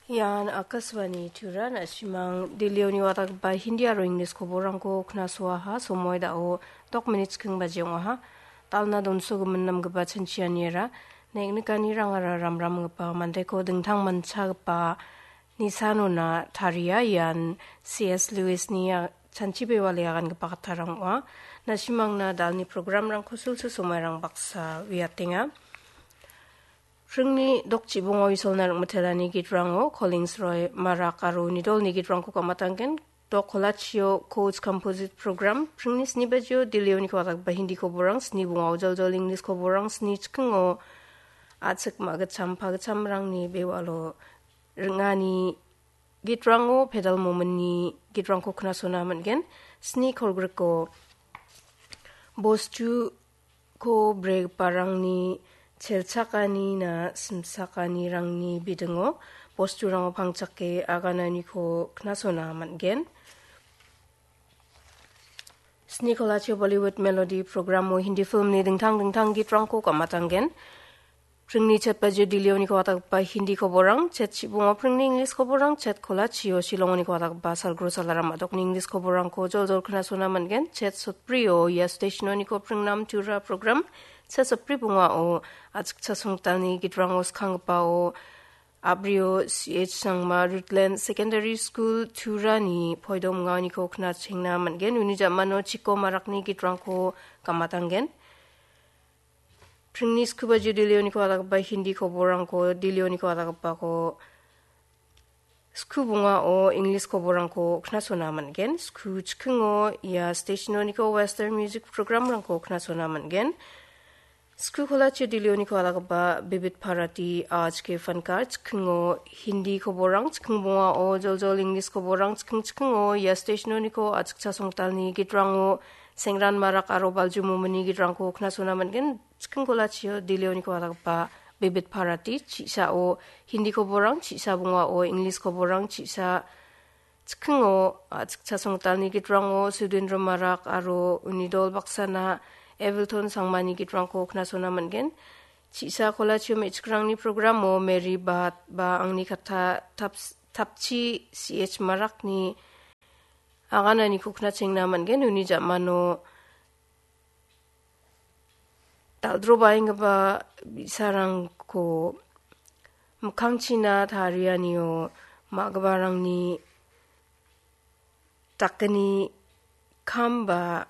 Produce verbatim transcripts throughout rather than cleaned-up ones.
Ian Akashvani Tura, na·simang Delhioni watgipa Hindi aro English koborrangko knasoaha. Somoi da·o dok minit chikking baji ong·aha. Dalna donsogimin namgipa chanchianiara neng·nikanirangara ramramgipa mandeko dingtang manchagipa nisanona taria. Ian C S Lewisni, a, chanchi bewale agangipa kattarang ong·a. Na·simangna dalni programrangko sulsul somairang baksa uiatenga. Pringni dok chibongo Isolna ring·mitelani gitrango Collins Roy Marak aro Nidolni gitrangko gamatanggen. Dok kolachio Coach Composite Program, pringni sni bajio Delhioniko watgipa Hindi koborrang, sni bongao joljol English koborrang, sni chikingo a·chik ma·gitcham pagitchamrangni bewalo ring·ani gitrango Pedal Mominni gitrangko knasona man·gen. Sni kolgriko bostuko bregiparangni chelchakanina simchakanirangni bidingo bosturango pangchake agananiko knasona man·gen. Sni kolachio Bollywood Melody programo Hindi filmni dingtang dingtang gitrangko gamatanggen. Pringni chet bajio Delhioniko watgipa Hindi koborrang, chet chibongo pringni English koborrang, chet kolachio Shillongoniko watgipa Salgro Salaram a·dokni English koborrangko joljol knasona man·gen. Chet sotbrio ia stationoniko pringnam Tura program, chet sotbri bongao a·chik chasongtalni gitrangko skanggipao a·brio C H Sangma Rutland Secondary School Turani poido minganiko knachengna man·gen. Uni ja·mano Chiko Marakni gitrangko gamatanggen. Pringni sku bajio Delhioniko watgipa Hindi koborrangko, Delhioniko watgipako sku bongao English koborrangko knasona man·gen. Sku chikingo ia stationoniko Western music programrangko knasona man·gen. Sku kolachio Delhioniko watgipa Bibit Bharati Aaj Ke Fankar chikingo Hindi koborrang, chiking bongao joljol English koborrang, chiking chikingo ia stationoniko a·chik chasongtalni gitrango Sengran Marak aro Balju Mominni gitrangko knasona man·gen. Chiking kolachio Delhioniko watgipa Bibit Bharati, chi·sao Hindi koborrang, chi·sa bongao English koborrang, chi·sa chikingo, a, chikcha songtalni gitrango Sudendra Marak aro uni dol baksana Evilton Sangmani gitrangko knasona man·gen. Chi·sa kolachio me·chikrangni programo Mary Bat ba Angni Katha Taps-, Tapchi C H Marakni agananiko knachengna man·gen. Uni ja·mano dal·drobaenggipa bi·sarangko mikkangchina tarianio ma·giparangni dakgni kam ba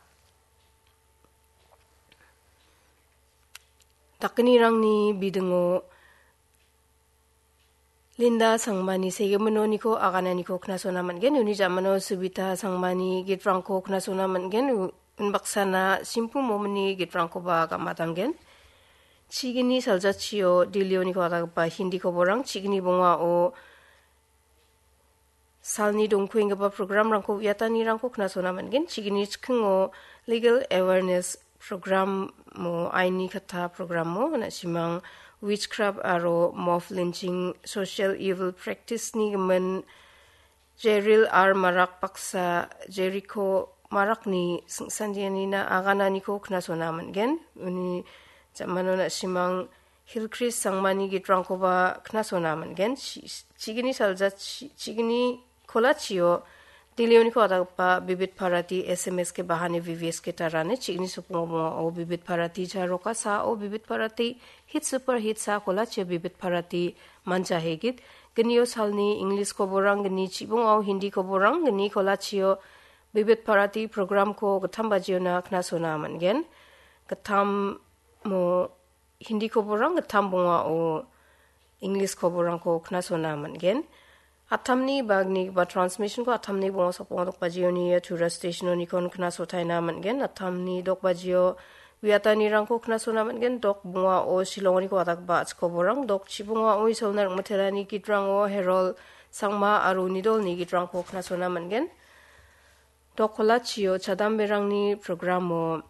dakgnirangni bidingo Linda Sangmani segimin noniko agananiko knasona man·gen. Uni ja·mano Subita Sangmani gitrangko knasona man·gen. U-, unbaksana Simpu Momini gitrangkoba gamatanggen. Chigini saljachio Delhioniko watgipa Hindi koborrang, chigini bongao salni dongkuenggipa programrangko uiatanirangko knasona man·gen. Chigini chikingo legal awareness programo, aini katta programo, na·simang witchcraft aro mob lynching, social evil practice-ni gimin Jeril R Marak baksa Jeriko Marakni singsandianina agananiko knasona man·gen. Uni ja·mano na·simang Hilkris Sangmani gitrangkoba knasona man·gen. Chi-, chigini salja chi-, chigini kolachio Delhioniko watgipa Bibit Bharati S M S ke bahane V V S ke tarane chigini sokbongo bongao Bibit Bharati charoka sao Bibit Bharati hit super hit sa kolachio Bibit Bharati manja hegit. Gnio salni English koborrang, gni chibongao Hindi koborrang, gni kolachio Bibit Bharati programko gittam bajiona knasona man·gen. Gittamo Hindi koborrang, gittam bongao English koborrangko knasona man·gen. Attamni bagni ba transmissionko attamni bonga sokbonga dok bajioni ia Tura stationonikon knasotaina man·gen. Attamni dok bajio uiatanirangko knasona man·gen. Dok bongao Shillongoniko watgipa a·chik koborrang, dok chibongao Isolna ring·mitelani gitrango Herol Sangma aro Nidolni gitrangko knasona man·gen. Dok kolachio chadamberangni programo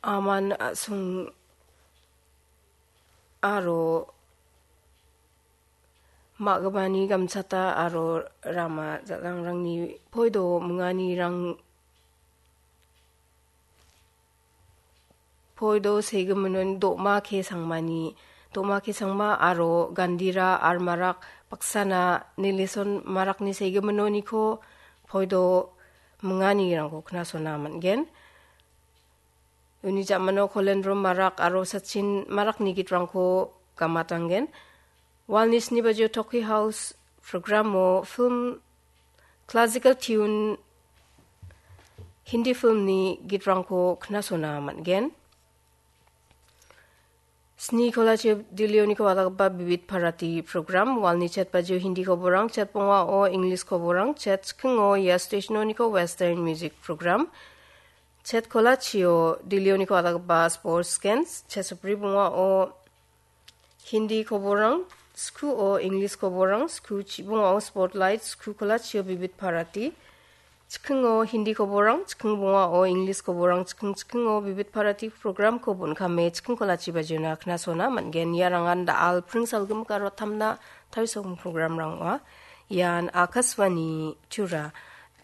Aman a·song aro ma·gipani gamchata aro rama jalangrangni poido minganirang, Poido segiminoni Doma K Sangmani, Doma K Sangma aro Gandira R Marak baksana Nilison Marakni segiminoniko poido minganirangko knasona man·gen. Uni ja·mano Kolendro Marak aro Sachin Marakni gitrangko gamatanggen. Walni sni bajio Toki House programo film, classical tune, Hindi filmni gitrangko knasona man·gen. Sni kolachio Dillioniko adakgipa Bibit Bharati program, walni chet bajio Hindi koborang, chet bongao English koborang, chet chikingo ia stationoniko Western music program, chet kolachio Dillioniko adakgipa sports games, chet sopri bongao Hindi koborang, skuo English koborang, sku chibongao spotlight, sku kolachio Bibit Bharati, chikingo Hindi koborang, chiking bongao English koborang, chiking chikingo Bibit Bharati programko bon·kame chiking kolachi bajiona knasona man·gen. Iarangan da·al pring salgimik aro tamna tarisokgim programrang ong·a. Ian Akashvani Tura.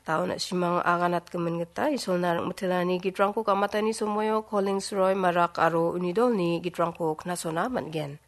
Taon a·simang aganatgimin gita Isolna ring·mitelani gitrangko gamatani somoio Collins Roy Marak aro uni dolni gitrangko knasona man·gen.